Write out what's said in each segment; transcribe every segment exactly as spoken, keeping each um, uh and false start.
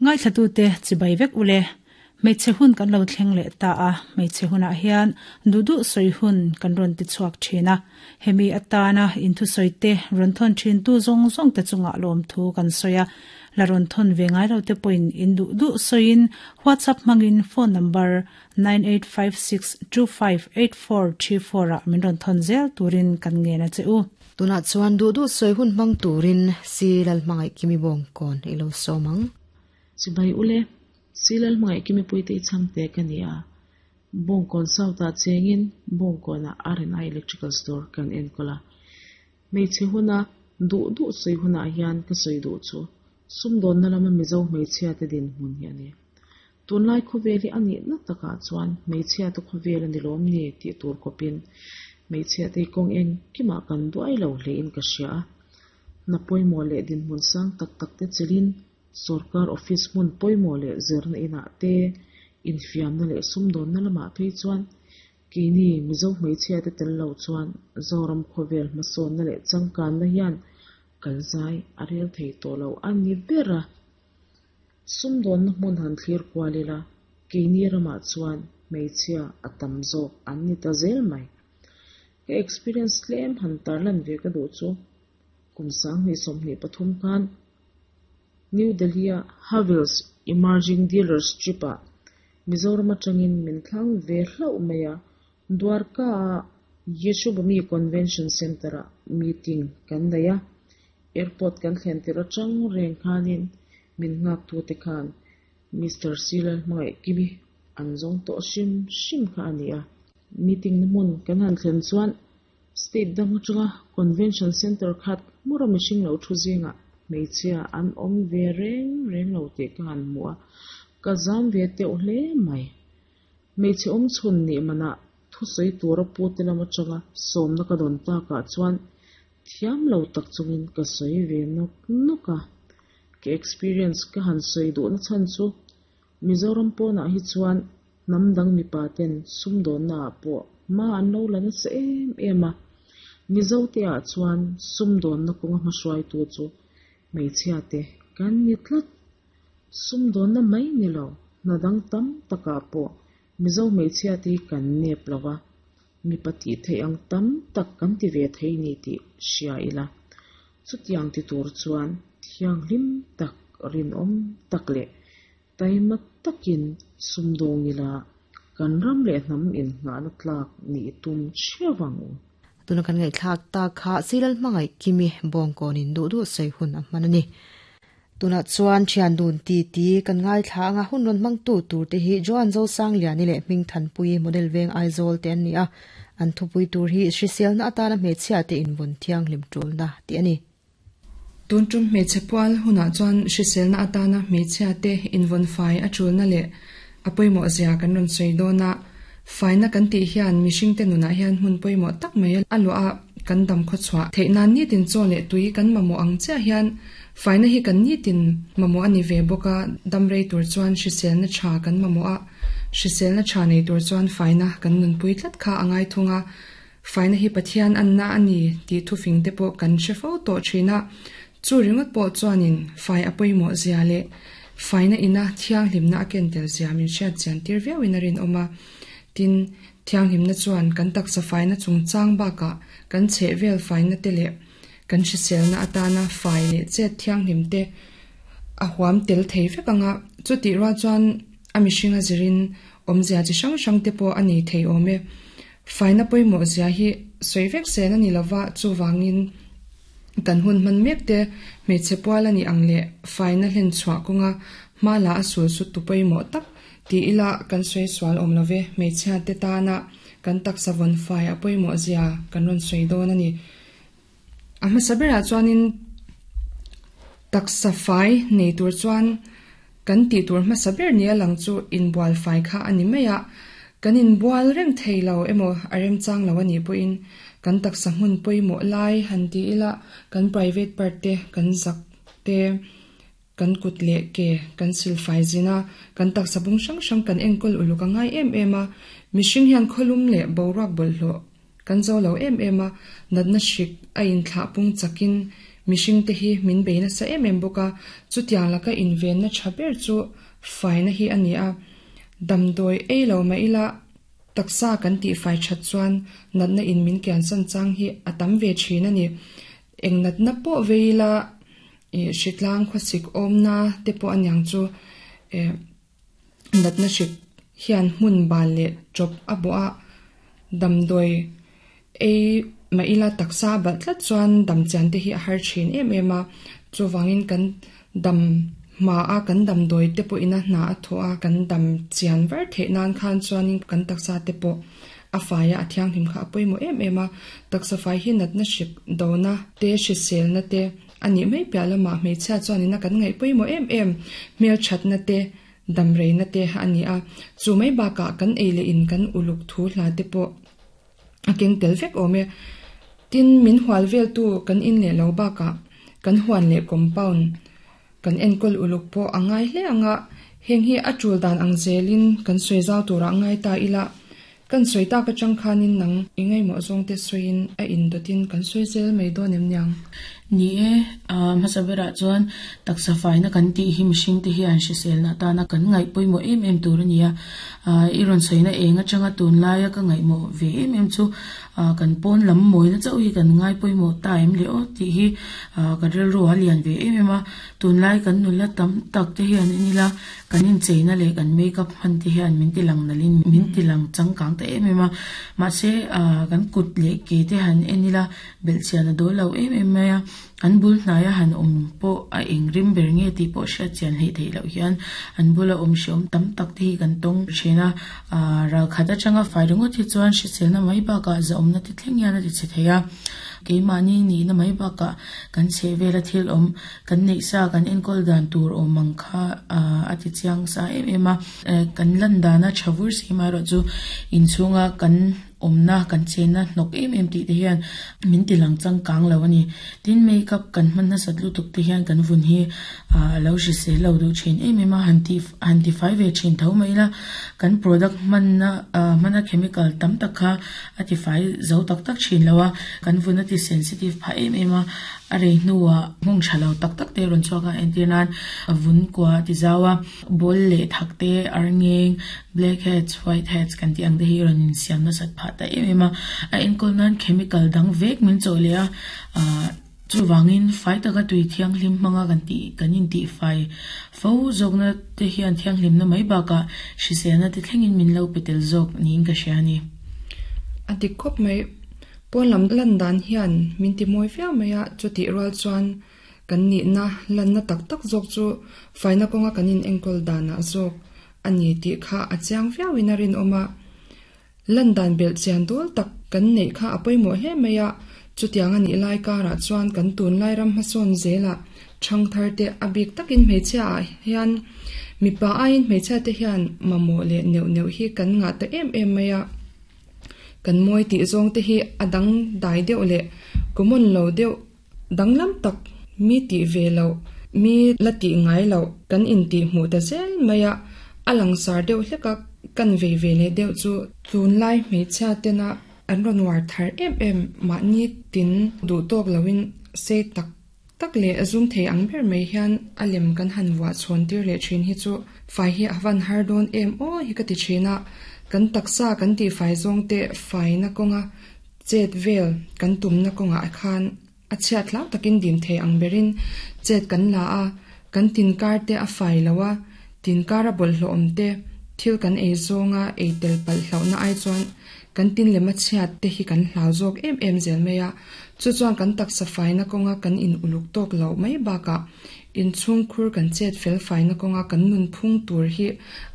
Ngai thlatu te chibai vek ule hmeichhe hun kan lo thleng leh ta a hmeichhe hunah hian duh duh sawi hun kan rawn ti chhuak thin a hemi atana inthusawi te rawn thawn thin tu zawng zawng te chungah lawm thu kan sawi a la rawn thawn ve ngai lo te pawhin in duh duh sawiin WhatsApp hmangin phone number nine eight five six two five eight four three four ah min rawn thawn zel turin kan ngen a che u. Tunah chuan duh duh sawi hun hmang turin si lal hmangaih kimi bawng kawn ilo sawmang. Chibai ule silal hmangaih kimi puite changte ka ni a bawngkawn south ah chengin bawngkawn ah R and I electrical store kan enkawl a hmeichhe huna duh duh sawi hunah hian ka sawi duh chu sumdawnna lama mizo hmeichhia te din hmun hi ani tunlai khawvel hi ani na takah chuan hmeichhia te khawvel ani lawm ni tih tur kawpin hmeichhia te kawng eng kimah kan duai lo hle in ka hria a na pawimawh leh dinhmun sang tak tak te chelin sarkar office hmun pawimawh leh zirna inah te infiamna leh sumdawnna lamah phei chuan keini mizo hmeichhia te tel lo chuan Zoram khawvel hmasawnna leh changkanna hian kalzai a rel thei tawh lo ani ber a sumdawnna hmun han thlir kual ila keini ramah chuan hmeichhia a tam zawk an ni ta zel mai ka experience tlem han tarlan ve ka duh chu kum sanghnih sawmhnih pathum khan New Delhi a Havells Emerging Dealers Trip ah Mizoram atangin min thlang ve hlauh mai a Dwarka a Yashobhoomi Convention Center ah meeting kan nei a airport kan thlen tir atang reng khanin min nghak tu te khan Mister Silal hmangaih kimi an zawng tawh hrim hrim kha ani a meeting na hmun kan han thlen chuan state dang atanga convention center khat hmura mihring lo thu zingah hmeichhia an awm ve reng reng lo tih ka han hmu a ka zam ve teuh hle mai hmeichhe awm chhun ni manah thusawi tura pu te lam atanga sawmna ka dawn takah chuan thiam lo tak chungin ka sawi ve nawk nawk a ka experience ka han sawi duh na chhan chu Mizoram pawnah hi chuan hnam dang mipa ten sumdawnna ah pawh hma an lo la nasa em em a Mizo te ah chuan sumdawnna kawnga hmahruai tu chu hmeichhia te kan ni tlat sumdawnna mai ni lo hna dang tam takah pawh Mizo hmeichhia te hi kan nep lova mipa tih theih ang tam tak kan ti ve thei ni tih hria ila chutiang ti tur chuan thianghlim tak rinawm tak leh taima takin sumdawng ila kan ram leh hnam in nghahna tlak ni tum theuh u. Tuna kan ngai thlak ta kha silal hmangaih kimi bawngkawn in duh duh sawi hun a hman ani. Tuna chuan thian dun ti ti kan ngai thla anga hun rawn hmang tu tur te hi Joan Zo Sang Liani leh Hming Than Pui model veng Aizawl te an ni a an thupui tur hi hriselna atana hmeichhia te invun thianghlim tulna ti ani. Tun tum hmeichhe pual hunah chuan hriselna atana hmeichhia te invun fai a tulna leh a pawimawh zia kan rawn sawi dawn a faina kan tih hian mihring te nunah hian hmun pawimawh tak mai a luah a kan dam khaw chhuah theih nan ni tin chaw leh tui kan mamawh ang chiah hian faina hi kan ni tin mamawh ani ve bawk a dam rei tur chuan hriselna tha kan mamawh a hriselna tha nei tur chuan faina kan nunpui tlat kha angai thunga faina hi Pathian anna ani tih thufing te pawh kan hre fo tawh thin a chu ringawt pawh chuanin fai a pawimawh zia leh faina ina thianghlimna a ken tel zia min hriat chian tir viauin a rin awm a tin thianghlimna chuan kan taksa faina chungchang bakah kan chheh vel faina te leh kan hriselna atana fai leh chet thianghlim te a huam tel thei vek anga chuti rual chuan a mihringa zirin awmzia chi hrang hrang te pawh ani thei awm e faina pawimawh zia hi sawi vek sen ani lova chuwangin kan hun hman mek te hmeichhe pual ani ang leh faina hlen chhuah kawnga hma la a sul su tu pawimawh tak ti ila kan sawi sual awm love hmeichhia te tana kan taksa vawn fai a pawimawh zia kan rawn sawi dawn ani. A hmasa berah chuanin taksa fai nei tur chuan kan tih tur hmasa ber ni a lang chu inbual fai kha ani mai a kan inbual reng thei lo emaw a remchang lo ani pawhin kan taksa hmun pawimawh lai han ti ila kan private part te kan zak te kan kut leh ke kan sil fai zina kan taksa bung hrang hrang kan enkawl uluk a ngai em em a mihring hian khawlum leh boruak bawlhhlawh kan zo lo em em a natna hrik a inthlah pung chakin Mihring te hi min beina sa em em bawk a, chutiang laka inven na tha ber chu faina hi ani a. Damdawi ei lo mai ila taksa kan ti fai that chuan natna in min kian san chang hi a tam ve thin ani. Eng natna pawh veila e hritlang khawsik awmna te pawh aniang chu e natna hrik hian hmun bal leh chawp a bawh a. Damdawi ei mai ila taksa balh tlat chuan dam chian te hi a har thin em em a. Chuwangin kan dam hma a kan damdawi te pawh ina hna a thaw a kan dam chian var theih nan khan chuanin kan taksa te pawh a faia a thianghlim kha a pawimawh em em a. Taksa fai hi natna hrik dona te hriselna te ani mai piah lamah hmeichhia chuanina kan ngaih pawimawh em em hmel thatna te damreina te ani a. Chu mai bakah kan ei leh in kan uluk thu hla te pawh a keng tel vek awm e. Tin min hual vel tu kan in leh lo bakah kan huan leh compound kan enkawl uluk pawh a ngai hle anga. Heng hi a tul dan ang zelin kan sawi zau turah ngai ta ila. Kan sawi tak atang khanin nang ingai maw zawng te sawiin a indotin kan sawi zel mai dawn em niang. Ni e, hmasabera chuan taksa faina kan tih hi mihring te hian hriselna atana kan ngaih pawimawh em em tur ania. I rawn sawina eng atanga tun laia ka ngaihmawh ve em em chu kan pawn lam mawina chauh hi kan ngai pawimawh ta em le aw tih hi ka rilru a lian ve em em a. Tun lai kan nula tam tak te hian enila kan incheina leh kan makeup hman te hian min ti lang nalin min ti lang changkang ta em em a. Mahse kan kut leh ke te han enila belhchian a dawl lo em em mai a. An bul hnaia han awm pawh a eng rim ber nge tih pawh hriat chian hleih theih loh hian an bula awm hreawm tam tak te hi kan tawng thin a. Ral khat atanga fai ringawt hi chuan hriselna mai bakah zahawmna te thleng hian a ti chhe thei a. Keimahni nihna mai bakah kan chheh vela thil awm kan neih sa kan enkawl dan tur awm ang kha a ti chiang sa em em a. Kan lan dana tha vur si marawh chu inchhunga kan awmna kan chenna hnawk em em tih te hian min ti lang changkang lo ani. Tin makeup kan hman nasat lutuk te hian kan vun hi a lo hrisel lo duh thin em em a. Han ti han ti fai ve thin tho mai ila kan product hmanna hmana chemical tam tak kha a ti fai zo tak tak thin lo a. Kan vun a ti sensitive phah em em a. A rei hnuah hmung tha lo tak tak te rawn chhuak a. Entir nan vun kua ti zau a, ball leh thak te arngeng blackheads whiteheads kan tih ang te hi rawn insiam nasat phah ta em em a. A enkawl nan chemical dang vek min chawh leh a. Chuwangin fai taka tui thianghlim hmanga kan tih kan intih fai fo zawkna te hian thianghlimna mai bakah hriselna te thlengin min lo pe tel zawk niin ka hria ani. A dik khawp mai pawn lam lan dan hian min ti mawi viau mai a. Chutih rual chuan kan nihna lanna tak tak zawk chu faina kawnga kan in enkawl danah zawk ani tih kha a chiang viauin a rin awm a. Lan dan belh chian dawl tak kan neih kha a pawimawh hle mai a. Chutiang ani lai karah chuan kan tun lai ram hmasawn zela thang thar te a bik takin hmeichhia ah hian mipa aiin hmeichhia te hian mamawh leh neuh neuh hi kan ngah ta em em mai a. Kan mawi tih zawng te hi a dang dai deuh leh common lo deuh danglam tak mi tih ve lo mi la tih ngai lo kan intih hmuh ta zel mai a. A langsar deuh hlek a kan vei ve leh deuh chu tun lai hmeichhia tena an rawn war thar em em mahni tin duh tawk loin sei tak tak leh zum thei ang ber mai hian a lem kan han vuah chhawn tir leh thin hi chu fai hi a van har dawn em aw hi ka ti thin a. Kan taksa kan tih fai zawng te faina kawnga chet vel kan tumna kawngah khan a chhiat hlau takin dim thei ang berin chet kan la a. Kan tin kar te a fai lo a, tin kar a bawlhhlawh awm te thil kan ei zawnga ei tel palh hlauhna ai chuan kan tin lema chhiat te hi kan hlau zawk em em zel mai a. Chu chuan kan taksa faina kawnga kan in uluk tawk lo mai bakah inchhung khur kan chet fel faina kawnga kan nun phung tur hi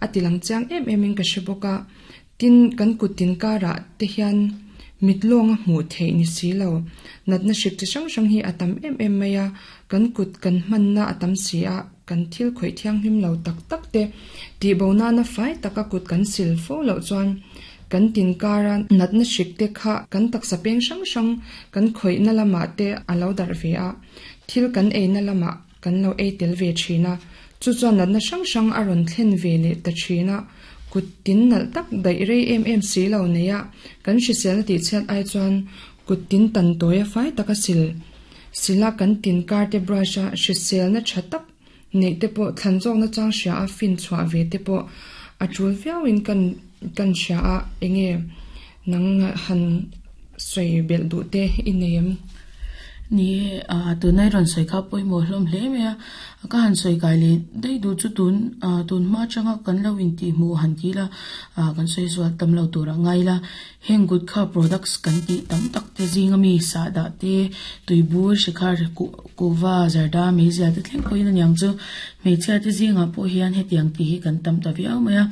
a ti lang chiang em em in ka hre bawk a. Tin kan kut tin karah te hian mit lawnga hmuh theih ni si lo natna hrik chi hrang hrang hi a tam em em mai a. Kan kut kan hmanna a tam si a, kan thil khawih thianghlim lo tak tak te tih bo nana fai taka kut kan sil fo loh chuan kan tin kara natna hrik te kha kan taksa peng hrang hrang kan khawihna lamah te a lo darh ve a. Thil kan eina lamah kan lo ei tel ve thin a. Chu chuan natna hrang hrang a rawn thlen ve leh ta thin a. Kut tin nalh tak daih rei em em si lo nei a. Kan hriselna tih chhiat ai chuan kut tin tan tawi a fai taka sil Sila kan tin kar te brush a hrisel na tha tak nei te pawh thlan zawk na chang hria a fin chhuah ve te pawh a tul viauin kan kan hria a enge nang han sawi belh duh te i nei em. Ni a tunai ron sawi kha pawimawh hlawm hle mai a ka han sawi kai leh daih duh chu tun a tun hma atanga kan lo intih hmuh han ti ila a kan sawi zual tam lo tur a ngai ila heng gutkha products kan tih tam tak te zing ami sahdah te tuibur shikhar kuhva zarda meizial te thleng pawhin aniang chu hmeichhia te zingah pawh hian hetiang tih hi kan tam ta viau mai a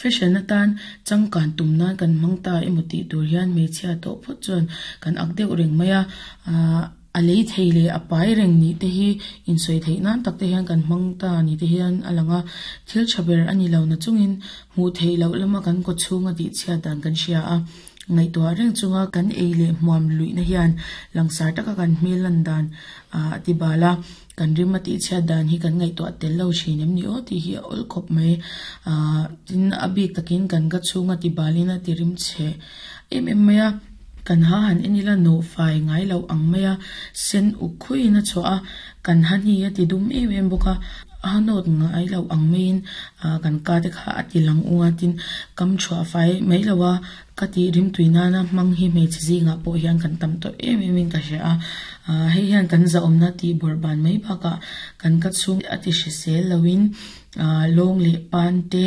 fashion atan changkan tum nan kan hmang ta emaw tih tur hian hmeichhia tawh phawt chuan kan ak deuh reng mai a ahh a lei thei leh a pai reng ni te hi insawi theih nan tak te hian kan hmang ta ni te hian a lang a thil tha ber ani lo na chungin hmuh theih loh lama kan kaw chhunga tih chhiat dan kan hria a ngaihtuah reng chunga kan ei leh hmuam luih na hian langsar taka kan hmel lan dan ah ti bal a kan rim a tih chhiat dan hi kan ngaihtuah tel lo thin em ni aw tih hi a awl khawp mai ah tin a bik takin kan ka chhunga ti balin a ti rim chhe em em mai a kan ha han en ila nawh fai ngai loh ang mai a sen uk khuiin a chhuah a kan ha hni a ti dum em em bawk a a nawt ngai loh ang maiin ah kan ka te kha a ti lang ung a tin kam thuah fai mai lo a ka tih rim tui nana hmang hi hmeichhe zingah pawh hian kan tam tawh em em in ka hria a ah hei hian kan zahawmna tih bawrhban mai bakah kan ka chhung a ti hrisel loin ah lawng leh pan te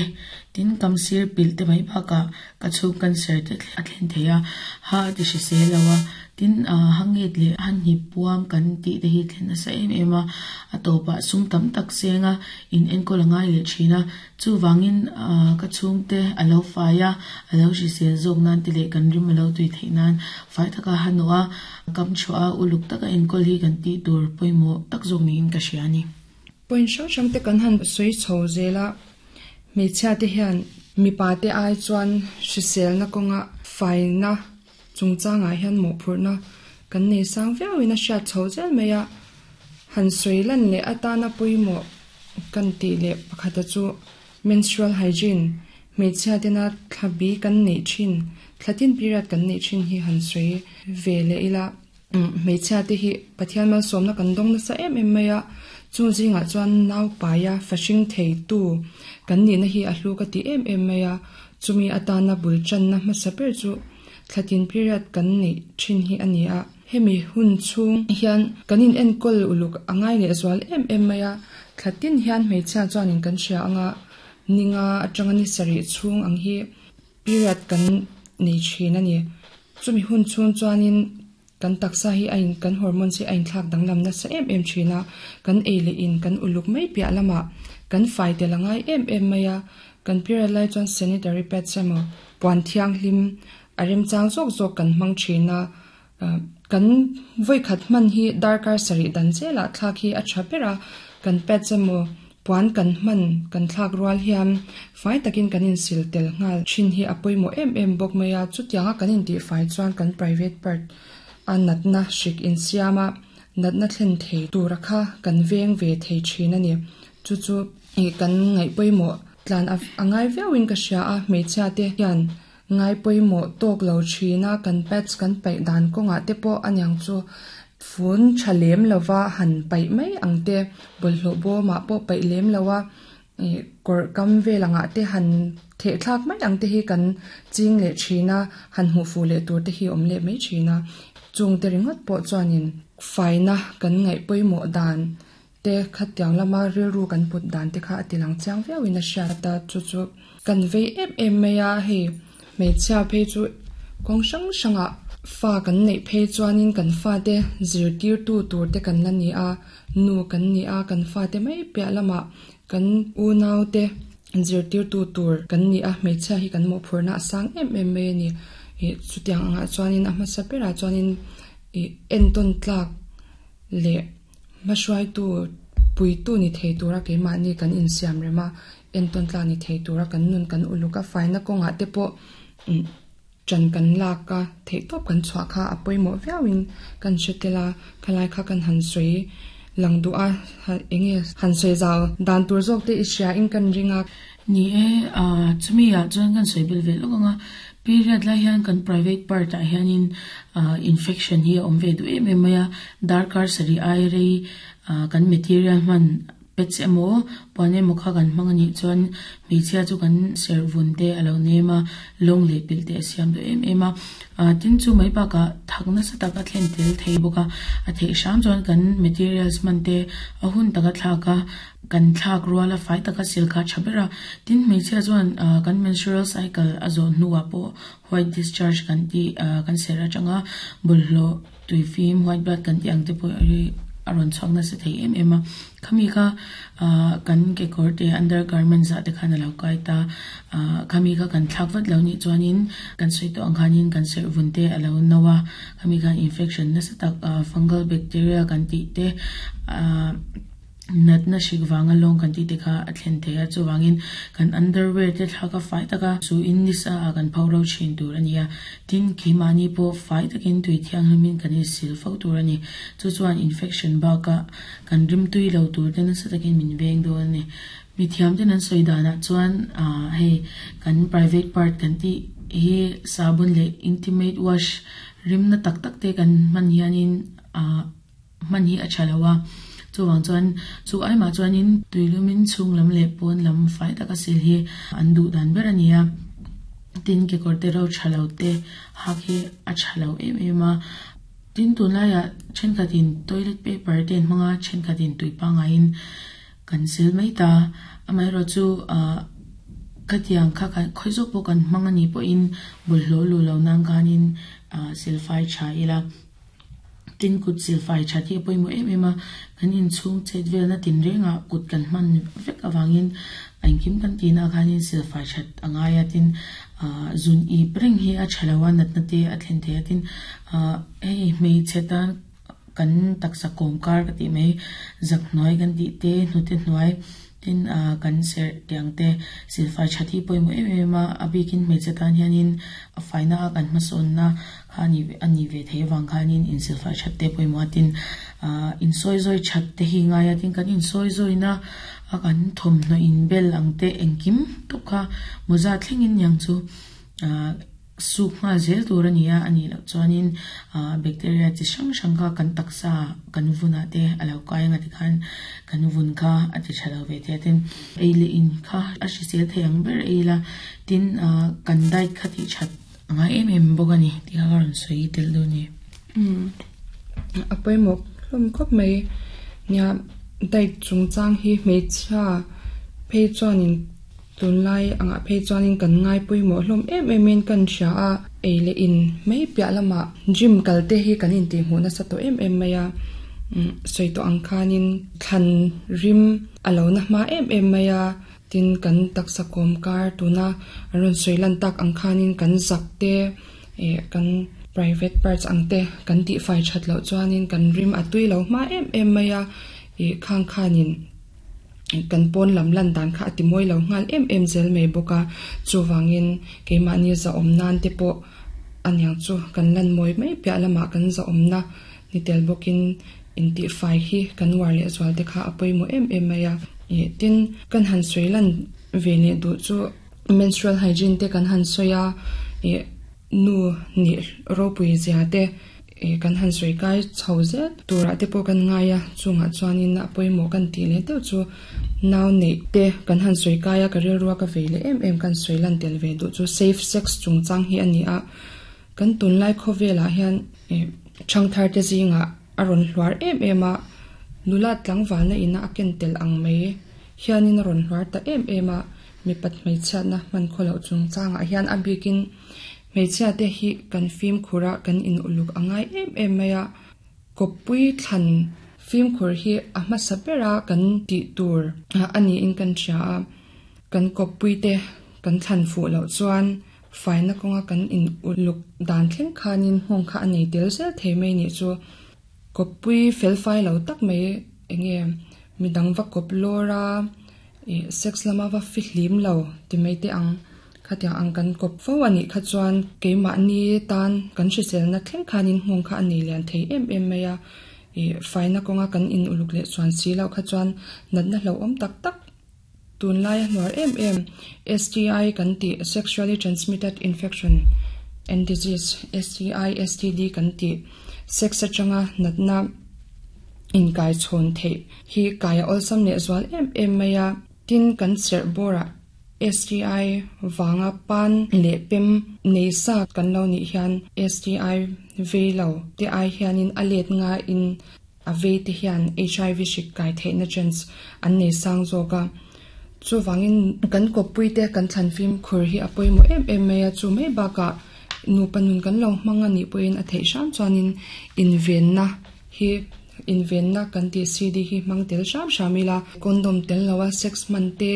tin kam sir pilh te mai bakah ka chhung cancer te a thlen thei a ha a ti hrisel lo a tin ah hangit leh a hnip puam kan tih te hi thlen nasa em em a a tawpah sum tam tak senga in enkawl a ngai leh thin a chuwangin ah ka chhung te a lo fai a a lo hrisel zawk nan te leh kan rim a lo tui theih nan fai taka ha nawh a kam thuah a uluk taka enkawl hi kan tih tur pawimawh tak zawk niin ka hria ani. Point hrang hrang te kan han sawi chho zela hmeichhia te hian mipa te ai chuan hrisel na kawnga faina chungchangah hian mawhphurhna kan nei sang viauin a hriat chho zel mai a han sawi lan leh atana pawimawh kan tih leh pakhata chu menstrual hygiene hmeichhia tena thlabi kan neih thin thlatin period kan neih thin hi han sawi ve leh ila hmeichhia te hi Pathian malsawmna kan dawng nasa em em mai a chu zingah chuan nau paia fahring thei tu kan nih na hi a hlu ka ti em em mai a chumi atana bul channa hmasa ber chu thlatin period kan neih thin hi ani a hemi hun chhung hian kan in enkawl uluk angai leh zual em em mai a thlatin hian hmeichhia chuanin kan hria anga ninga atanga ni sarih chhung ang hi period kan nei thin ani chumi hun chhung chuanin kan taksa hi a in kan hormones hi a inthlak danglam nasa em em thin a kan ei leh in kan uluk mai piah lamah kan fai tel angai em em mai a kan period lai chuan sanitary pads emaw puan thianghlim a remchang zawk zawk kan hmang thin a kan vawi khat hman hi darkar sarih dan zelah thlak hi a tha ber a kan pads emaw puan kan hman kan thlak rual hian fai takin kan insil tel nghal thin hi a pawimawh em em bawk mai a chutianga kan intih fai chuan kan private part a natna hrik insiama natna thlen thei tura kha kan veng ve thei thin ani chu chu kan ngaih pawimawh tlan angai viauin ka hria a hmeichhia te hian ngai pawimawh tawk lo thin a kan pads kan paih dan kawngah te pawh aniang chu fun tha lem lova han paih mai ang te bawlhhlawh bawmah pawh paih lem lo a kawr kam vel angah te han theh thlak mai ang te hi kan ching leh thin a han hmuh fuh leh tur te hi awm leh mai thin a chung te ringawt pawh chuanin faina kan ngaih pawimawh dan te khatiang lama rilru kan put dan te kha a ti lang chiang viauin a hriat a chu chu kan vei em em mai a hei hmeichhia phei chu kawng hrang hrangah fa kan neih phei chuanin kan fa te zirtir tu tur te kan la ni a nu kan ni a kan fa te mai piah lamah kan unau te zirtir tu tur kan ni a hmeichhia hi kan mawhphurhna a sang em em mai ani chutiang angah chuanin a hmasa berah chuanin entawn tlak leh hmahruaitu puitu ni thei tura keimahni kan insiam rem a entawn tlak ni thei tura kan nun kan uluk a faina kawngah te pawh chan kan lak a theih tawp kan chhuah kha a pawimawh viauin kan hre tel a khalai kha kan han sawi lang duh a enge han sawi zau dan tur zawk te i hria in kan ring a ni e a chumi ah chuan kan sawi bel vel lawk anga Period lai hian kan private part ah hianin ah infection hi a awm ve duh em em mai a, darkar sarih ai rei ah kan material hman pads emaw puan emaw kha kan hmang anih chuan hmeichhia chu kan serh vun te a lo nem a, lawng leh pilh te a siam duh em em a, ah tin chu mai bakah thak nasa tak a thlen tel thei bawk a, a theih hram chuan kan materials hman te a hun taka thlak a, kan thlak rual a fai taka sil kha a tha ber a, tin hmeichhia chuan ah kan menstrual cycle a zawh hnuah pawh white discharge kan tih ah kan serh atanga bawlhhlawh tui fim white blood kan tih ang te pawh hi a rawn chhuak nasa thei em em a, khami kha ah kan kekawr te undergarments ah te khan a lo kai ta, ah khami kha kan thlak vat lo nih chuanin kan sawi tawh ang khanin kan serh vun te a lo no a, khami khan infection nasa tak ah fungal bacteria kan tih te ah natna hrik vanga lawng kan tih te kha a thlen thei a, chuvangin kan underwear te thlak a fai taka chu in nisa ah kan pho ro thin tur a ni a, tin keimahni pawh fai takin tui thianghlimin kan insil fo tur a ni, chu chuan infection bakah kan rimtui lo tur te nasa takin min veng dawn a ni. Mithiam ten an sawi danah chuan ah hei kan private part kan tih hi sabun leh intimate wash rimna tak tak te kan hman hianin ah hman hi a tha lo a, chuwang chuan chu aimah chuanin tuilumin chhung lam leh pawn lam fai taka sil hi an duh dan ber a ni a, tin kekawr te ro tha lo te hak hi a tha lo em em a, tin tunlaiah thenkhatin toilet paper te an hmang a, thenkhatin tui pangaiin kan sil mai ta, amaherawh chu ah khatiang kha kan khawi zawk pawh kan hmang anih pawhin bawlhhlawh lu lo nan khanin ah silfai tha ila, tin kut silfai that hi a pawimawh em em a, kan inchhung chet velna tin rengah kut kan hman vek awangin a engkim kan tihna khanin silfai that a ngai a, tin ah zun ip reng hi a tha lo a, natna te a thlen thei a, tin ah hei hmeichhe tan kan taksa kawm kar ka tih mai zak hnuai kan tih te hnute hnuai tin ah kan serh tiang te silfai that hi pawimawh em em a, a bikin hmeichhe tan hianin a faina a kan hmasawnna kha ani ani ve thei avang khanin insilfai that te pawimawh a, tin ah insawi zawi that te hi ngai a, tin kan insawi zawina a kan thawmhnaw inbel ang te engkim tawp kha mawza thlengin niang chu ah suk nghal zel tur a ni a, anih loh chuanin ah bacteria chi hrang hrang kha kan taksa kan vunah te a lo kai anga tikhan kan vun kha a ti tha lo ve thei a, tin ei leh in kha a hrisel thei ang ber ei la, tin ah kan diet kha tih that a ngai em em bawk a ni tih kha ka rawn sawi tel dawn a ni. Um a pawimawh hlawm khawp mai nia diet chungchang hi hmeichhia phei chuanin tunlai angah phei chuanin kan ngai pawimawh hlawm em em in kan hria a, ei leh in mai piah lamah gym kal te hi kan intih hmuh nasa tawh em em mai a, um sawi tawh ang khanin thlan rim a lo na hma em em mai a, tin kan taksa kawm kar tuna an rawn sawi lan tak ang khanin kan zak te eh kan private parts ang te kan tih fai that loh chuanin kan rim a tui lo hma em em mai a, ih khang khanin kan pawn lam lan dan kha a ti mawi lo nghal em em zel mai bawk a, chuwangin keimahni za awm nan te pawh aniang chu kan lan mawi mai piah lamah kan za awmna ni tel bawkin intih fai hi kan uar leh zual te kha a pawimawh em em mai a, ih tin kan han sawi lan ve leh duh chu menstrual hygiene te kan han sawi a, ih nu nih ropui zia te ih kan han sawi kai chho zel turah te pawh kan ngai a, chungah chuanin a pawimawh kan tih leh deuh chu nau neih te kan han sawi kai a, ka rilrua ka vei leh em em kan sawi lan tel ve duh chu safe sex chungchang hi a ni a, kan tunlai khawvelah hian ih thangthar te zingah a rawn hluar em em a, nula tlangvalna ina a ken tel ang mai hianin a rawn hluar ta em em a, mipat hmeichhiatna hman khawloh chungchangah hian a bikin hmeichhia te hi kan fimkhur a kan in uluk a ngai em em mai a, kawppui thlan fimkhur hi a hmasa bera kan tih tur a niin kan hria a, kan kawppui te kan thlan fuh loh chuan faina kawnga kan in uluk dan thleng khanin nghawng kha a nei tel zel thei mai nih chu kawppui fel fai lo tak mai enge midang va kawp lawr a, ih sex lama va fi hlim lo ti mai te ang khatiang ang kan kawp fo anih kha chuan keimahni tan kan hriselna thleng khanin nghawng kha a nei lian thei em em mai a, ih faina kawnga kan in uluk leh chuan si loh kha chuan natna hlauhawm tak tak Tunlai a hnuar em em S T I kan tih, sexually transmitted infection and disease, S T I, S T D kan tih, sex atanga natna inkai chhawn theih hi kai a awlsam leh zual em em mai a. Tin, kan serh bawrah S T I wanga pan leh pem nei sa kan lo nih hian S T I vei lo te ai hianin a let nga in a vei te hian H I V hrik kai theihna chance an nei sang zawk a. Chuwangin kan kawppui te kan thlan fim khur hi a pawimawh em em mai a. Chu mai bakah nupa nun kan lo hmang a nih pawhin a theih hram chuanin invenna hi, invenna kan tih C D hi hmang tel hram hram ila. Condom tel lo a sex hman te,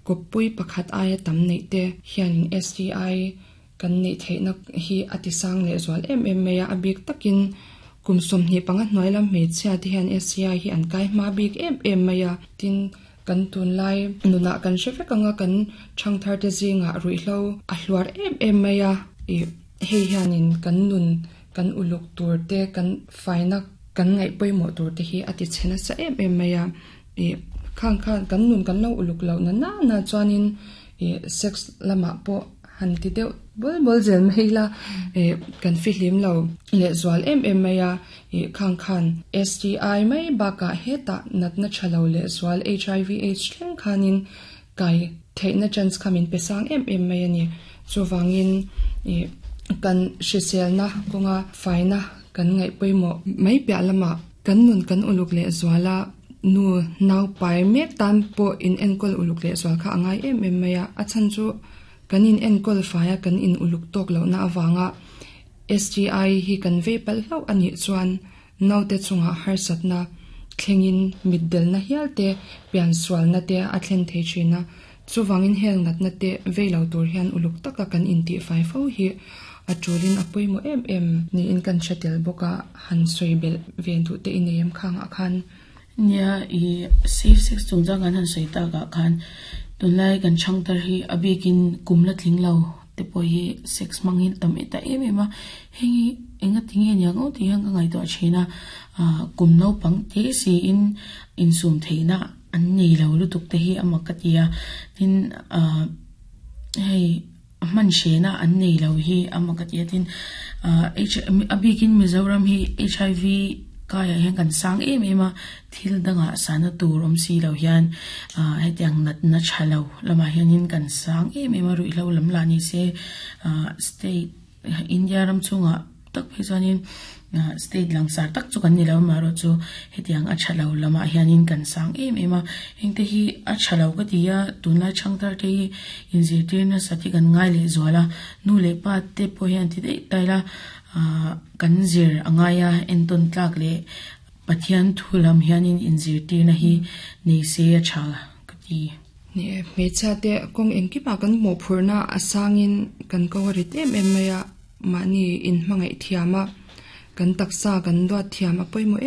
kawppui pakhat aia tam neih te hianin S T I kan neih theihna hi a ti sang leh zual em em mai a. A bik takin kum sawmhnih panga hnuai lam hmeichhia te hian S T I hi an kai hma bik em em mai a. Tin, kan tunlai nunah kan hre vek anga, kan thangthar te zingah ruihhlo a hluar em em mai a. Ih hei hianin kan nun kan uluk tur te, kan faina kan ngaih pawimawh tur te hi a ti chhe nasa em em mai a. Ih khang khan kan nun kan lo uluk lo na na na chuanin ih sex lamah pawh han ti deuh bul bul zel mai la, ih kan fihlim lo leh zual em em mai a. Ih khang khan S T I mai bakah hetah natna thalo leh zual H I V AIDS thleng khanin kai theihna chance kha min pe sang em em mai ani. Chuwangin ih kan hriselna kawnga faina kan ngaih pawimawh mai piah lamah kan nun kan uluk leh zuala, nu nau pai mek tan pawh in enkawl uluk leh zual kha angai em em mai a. A chhan chu kan in enkawl faia kan in uluk tawk lohna awanga S T I hi kan vei palh hlauh anih chuan naute chungah harsatna thlengin mitdelna hial te, pian sualna te a thlen thei thin a. Chuwangin heng natna te vei lo tur hian uluk taka kan intih fai fo hi a tulin a pawimawh em em niin kan hre tel bawk a. Han sawi belh ve duh te i nei em khangah khan? Nia, i safe sex chungchang kan han sawi takah khan tunlai kan thangthar hi, a bikin kum la tling lo te pawh hi sex hmang hi tam ta em em a. Heng hi enga tinge niang aw tih hian ka ngaihtuah thin a. Kum naupang te siin insum theihna an nei lo lutuk te hi a mak ka ti a. Tin, hei hman hrehna an nei lo hi a mak ka ti a. Tin, a bikin Mizoram hi H I V kaiah hian kan sang em em a. Thil dangah sana tur awm si lo hian hetiang natna tha lo lamah hianin kan sang em em a. Ruihhlo lam lah ni se, state, India ram chungah tak phei chuanin state langsar tak chu kan ni lo, amaherawhchu hetiang a tha lo lamah hianin kan sang em em a. Heng te hi a tha lo ka ti a. Tunlai thangthar te hi inzirtir nasa te kan ngai leh zual a. Nu leh pa te pawh hian ti daih taila kan zir angai a, entawn tlak leh Pathian thu lam hianin inzirtirna hi nei se a tha ka ti. Ni e, hmeichhia te kawng engkimah kan mawhphurhna a sangin kan ko a rit em em mai a. Mahni in hmangaih thiam a, kan taksa kan duat thiam a pawimawh em.